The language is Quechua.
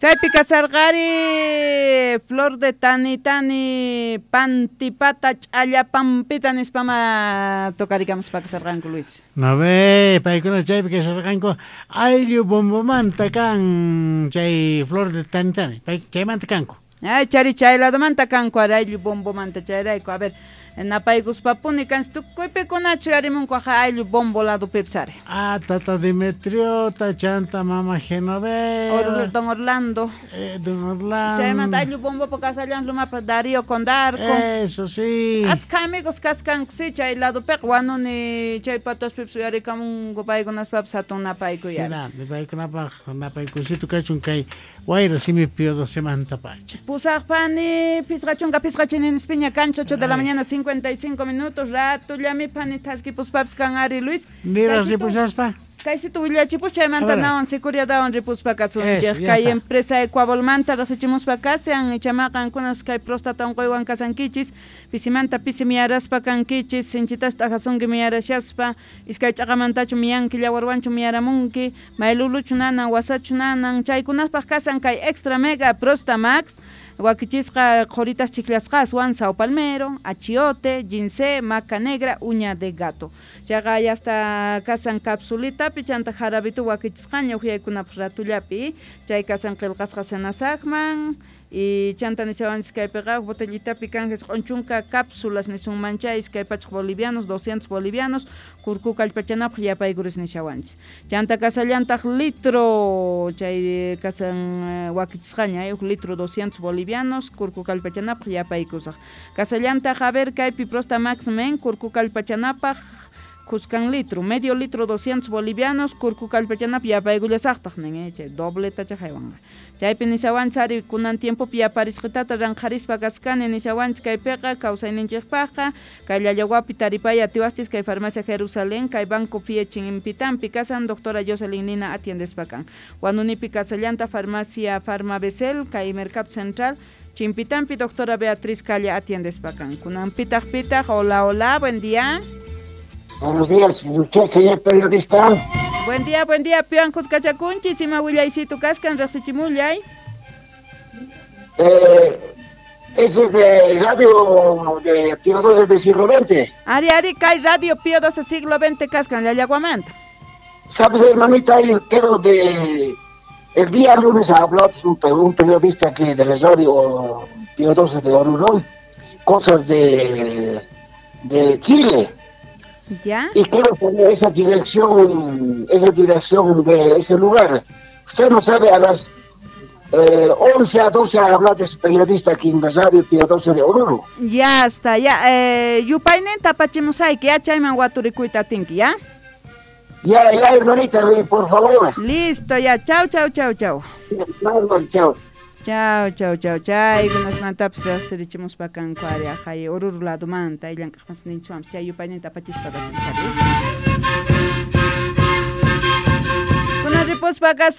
Kaypi kasarqari Flor de Tani Tani Pantipata Ch'allapampita nispama tocarikamuspa kasarqanku, Luis. No ve, paykuna chaypi kasarqanku ayllu bombomanta kan chay Flor de Tani Tani, pay chaymanta kanku. Ay, chari chay ladomanta kanku ari ayllu bombomanta chayrayku. A ver, napaykuspapuni kanchik tukuypikunachu yarimunku aja ayllu bombo ladopipis ari. Ah, tata Demetriota, chanta mama Genoveva. Don Orlando. Don Orlando. Chaymanta ayllu bombopa kasallan lumapa Darío Condarco. Eso sí. Askha amigos kaskanku sí chay ladopiqa wanuni chay pataspipis uyarikamunku paykunaspapis hatun napaykuy ari. Hina, paykunapaq napaykuysito kachun kay wayra simi Pío XII pacha. Pusaqpani 55 chininispiña kancha 8 de la mañana 55 minutos ratullami pani thaskipuspapis kan ari Luis. Niras ripushaspa. Kaysitu willachipus chaymanta nawan sicuriadawan ripuspa kasunchik. Kay empresa Ecuabolmanta riqsichimuspa kashan ichamaqa qankunas kay próstata unquywan kasankichis pisimanta pisi miyaraspa kankichis sinchitas t'ajasunki miyarashaspa iskay ch'aqamantachu miyanki llawarwanchu miyaramunki mayluluchu nanan wasachu nanan chaykunapaq kasan kay Extra Mega Prosta Max wakichisqa qhuritas chiklasqaswan sao palmero, achiote, ginseng, maca negra, uña de gato. Chayqa ya hasta kasan capsulitapi chanta jarabitu wakichisqaña uhyaykunapaq ratullapi chay kasan qillqasqa senasaqman y chanta nishawanchis kaypiqa botellitapi kan 90 cápsulas nisunman chay 200 bolivianos, 200 bolivianos kurku kallpachanapaq yapaykuris nishawanchis. Chanta kasallantaq litro chay kasan wakichisqaña huk litro 200 bolivianos kurku kallpachanapaq yapaykusaq. Kasallantaq a ver kaypi Prosta Max Men kurku kallpachanapaq kuskan litro, medio litro 200 bolivianos, kurku kallpachanapaq yapaykullasaqtaq nin, chay dobletacha haywanqa. Chaypi nishawanchis ari kunan tiempopi yaparisqitata ranqharispa kaskani nishawanchis kaypiqa kawsayninchikpaqqa kay Llallawapi taripay atiwaqchis kay farmacia Jerusalén kay Banco Fie Chimpitampi kasan doctora Jocelyn Nina atiendespa kan. Wanunipi kasallanta farmacia Farmabesel kay Mercado Central Chimpitampi doctora Beatriz Calle atiendespa kan. Kunan pitaq pitaq, hola hola, buen día. Buenos días, usted, señor periodista. Buen día, piwan kuskachakunchis, ima willaysitu kaskan, riqsichimullay. Ese es de radio de Pío XII del siglo XX. Ari, ari, kay radio Pío XII siglo XX kaskan, Llallaguamanta. Sabes, hermanita, yo quiero de... El día lunes ha hablado un periodista aquí de la radio Pío XII de Oruro, cosas de Chile. ¿Ya? Y quiero poner esa dirección de ese lugar. Usted no sabe, a las 11 a 12 ha hablado ese periodista aquí en la radio Pío XII de Oruro. Ya está, ya. Yupaynin tapachimusayki, ya chayman waturikuyta atinki, ¿ya? Ya, ya, hermanita, por favor. Listo, ya. Chau, chau, chau, chau. Chau. Chau, chau, chau, chaykunasmantapis riqsirichimuspa kanku ari ajay Oruro ladomanta llank'aqmas ninchuampis chay yupayninta apachispa kasun chari. Kunan ripuspa kasun.